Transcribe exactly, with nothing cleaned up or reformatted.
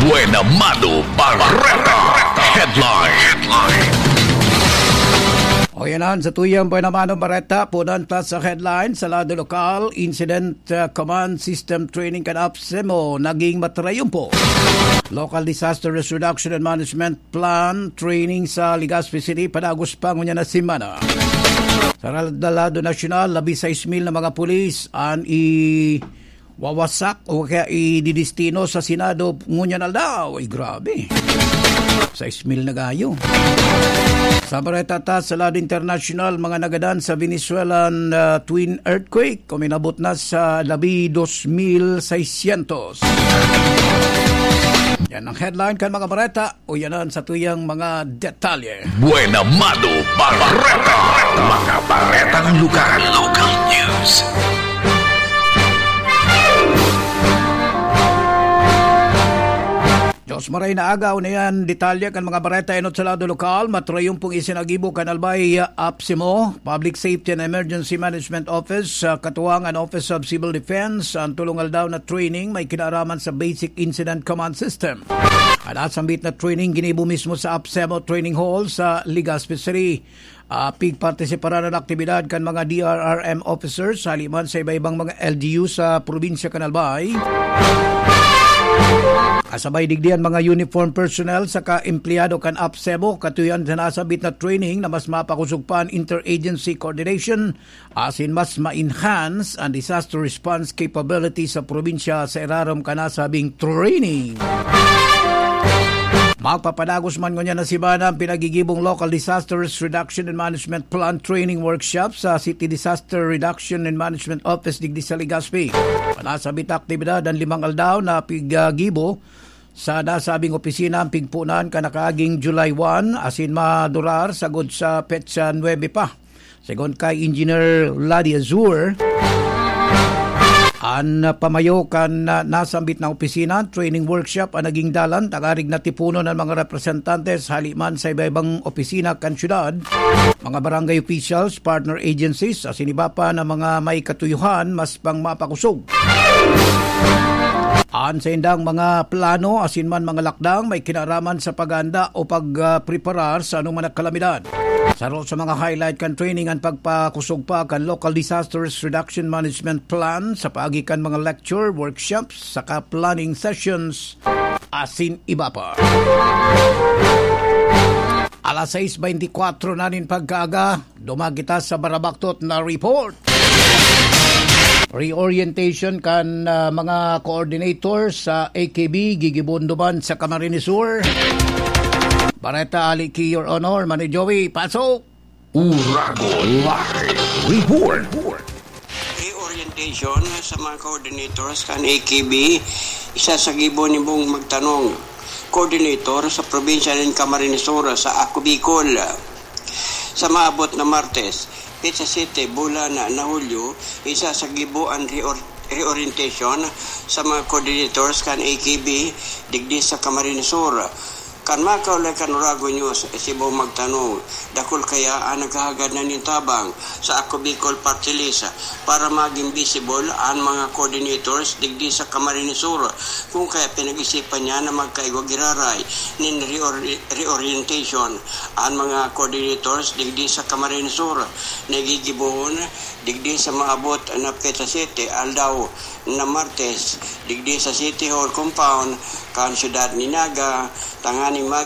Buena Mano Bareta Headline. O yan ang sa tuyang Buena Mano Bareta, punan ta sa headline sa lado lokal, Incident uh, Command System Training kan AFSEMO naging matrayumpo. Local Disaster Risk Reduction and Management Plan Training sa Legazpi City padagos pa ngunyan na semana. Sa lado nasyonal, labi sais mil na mga pulis an i wawasak o kaya ididestino sa Senado ngunyan aldaw. Ay, grabe. Sais mil na gayo. Sa bareta ta sa lado internasyonal, mga nagadan sa Venezuelan uh, twin earthquake, kuminabot na sa labi dos mil seiscientos. Yan ang headline kan mga bareta. O yanan sa tuyang mga detalye. Buena Mano Bareta. Mga baretang lugar. Local news. Diyos maray na agaw na yan. Detalye kan mga bareta enot sa lado lokal. Matrayumpong isinagibo kan Albay AFSEMO, Public Safety and Emergency Management Office, sa katuwang an Office of Civil Defense. Ang tulong aldaw na training may kinaaraman sa Basic Incident Command System. An nasambit na training ginibo mismo sa AFSEMO Training Hall sa Legazpi City. Uh, pigpartisiparan an aktibidad kan mga D R R M officers hali man sa iba-ibang mga L G U sa probinsya kan Albay. Kasabay digdi an mga uniform personnel saka empleyado kan AFSEMO, katuyan sa nasambit na training na mas mapakosog pa an interagency coordination asin mas ma-enhance an disaster response capability sa probinsya sa irarom kan nasabing training. Magpapadagos man ngunyan na semana ang pinagigibong Local Disaster Risk Reduction and Management Plan Training Workshop sa City Disaster Reduction and Management Office digdi sa Legazpi. Nasabit na aktibidad an limang aldaw na pigagibo sa nasabing opisina ang pigpunan kan nakaaging July one asin madurar sagod sa petsa nuebe pa. Segun kay Engineer Ladi Azur, an pamayo kan, ah, nasambit na opisina, training workshop an naging dalan, tangarig natipunon an mga representantes hali man sa iba-ibang opisina kan syudad, mga barangay officials, partner agencies, asin iba pa na mga may katuyuhan, mas pang mapakosog. An saindang mga plano asin man mga lakdang may kinaraman sa paghahanda o pagpreparar sa anoman na kalamidad. Saro sa mga highlight kan training an pagpakosog pa kan Local Disasters Reduction Management Plan sa paagi kan mga lecture, workshops, saka planning sessions, asin iba pa. Alas sais beintikwatro na nin pagkaaga, duman kita sa barabaktot na report. Reorientation kan, ah, mga coordinator sa A K B gigibon duman sa Camarines Sur. Bareta ali ki Your Honor, Mani Joey, pasok! Uragon Live Report. Reorientation sa mga coordinators kan A K B, isa sa gibo ni Bong Magtanong, coordinator sa probinsya nin Camarines Sur sa Ako Bicol. Sa maabot na Martes, petsa sete, bulan na, na Hulyo, isa sa gibo an reor-, reorientation sa mga coordinators kan A K B digdi sa Camarines Sur. Kan makaulay kan Uragon News, si Bong Magtanong, dakul kaya an naghahagad na nin tabang sa Ako Bicol Party List para magin visible an mga coordinators digdi sa Camarines Sur. Kun kaya pinag-isipan niya na magkaigwa giraray nin reor-, reorientation an mga coordinators digdi sa Camarines Sur na gigibohon digdi sa maabot na petsa sete, aldaw na Martes, digdi sa City Hall compound kan siyudad ni Naga, tanganing mag